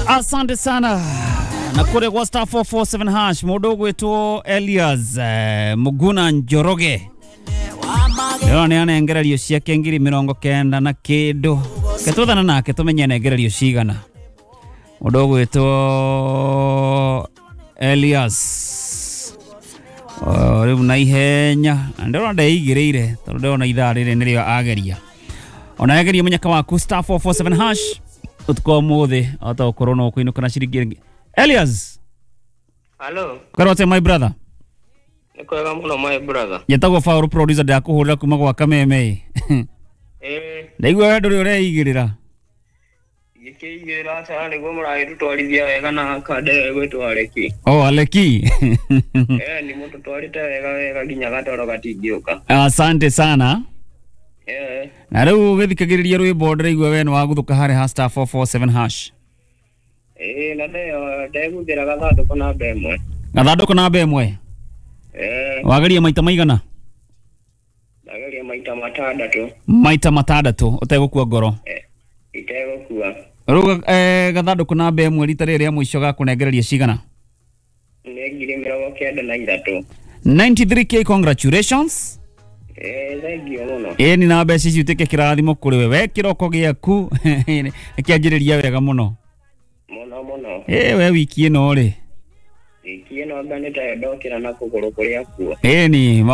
Asante sana na kule kwa star 447 hash mundu ugwitwo Elias Muguna Njoroge ĩyo nĩ anengererio ciake 90,000 na kĩndũ ketũthana nake tũmenye anengererio cigana. Mũndũ ũgwĩtwo Elias rĩu na ihenya na ndĩrona ndeigĩrĩire tondũ ndĩrona ithaa rĩrĩ nĩrĩo ageria ona ageria mũnyaka waku star 447 hash ũtukũ wa ũmũthĩ ahota gũkorwo no ũkũinũka na ciringi ĩngĩ. Elias. Hello, Kwĩrwo atĩa my brother? nĩ kwega mũno my brother. Njĩtagwo Paul producer ndakũhũrĩra kuma gwa Kameme. Ĩĩ, Ndaigua we ndũrĩ ũreigĩrĩra. gĩkĩigĩrĩra aca nĩguo mũragĩtũtwarithia wega na kanda ĩyo ĩgwĩtwo Areki. Oh, Aleki. Ĩĩ, nĩ mũtũtwarĩte wega wega nginya gatoro gatingĩũka. Asante sana. Ĩĩ, Na rĩu ũgĩthikagĩrĩria rwĩmbo ndĩraigua we nĩ waguthũka harĩ ha star 447 hash. ĩĩ, na ndeyo ndegũthĩra gathandũkũ namba ĩmwe. Gathandũkũ namba ĩmwe. Ĩĩ, Wageria maita maigana? ndageria maita matandatũ. Maita matandatũ ũtegũkua ngoro. Ĩĩ, itegũkua. Rĩu gathandũkũ namba ĩmwe rita rĩrĩ rĩa mũico gakũnengereria cigana? Nĩ 93,000. 93K, congratulations. Ĩĩ, thengiũ mũno. Ĩni na mbeca ici ũtuĩke kĩrathimo kũrĩ we. We kĩroko gĩaku kĩanjĩrĩria wega mũno. Mũno mũno. Ĩ we wiki ĩno rĩ. Wiki ĩno anga nĩ tayo ndokĩra na kũgũrũ kũrĩa kuo. Ĩni maũndũ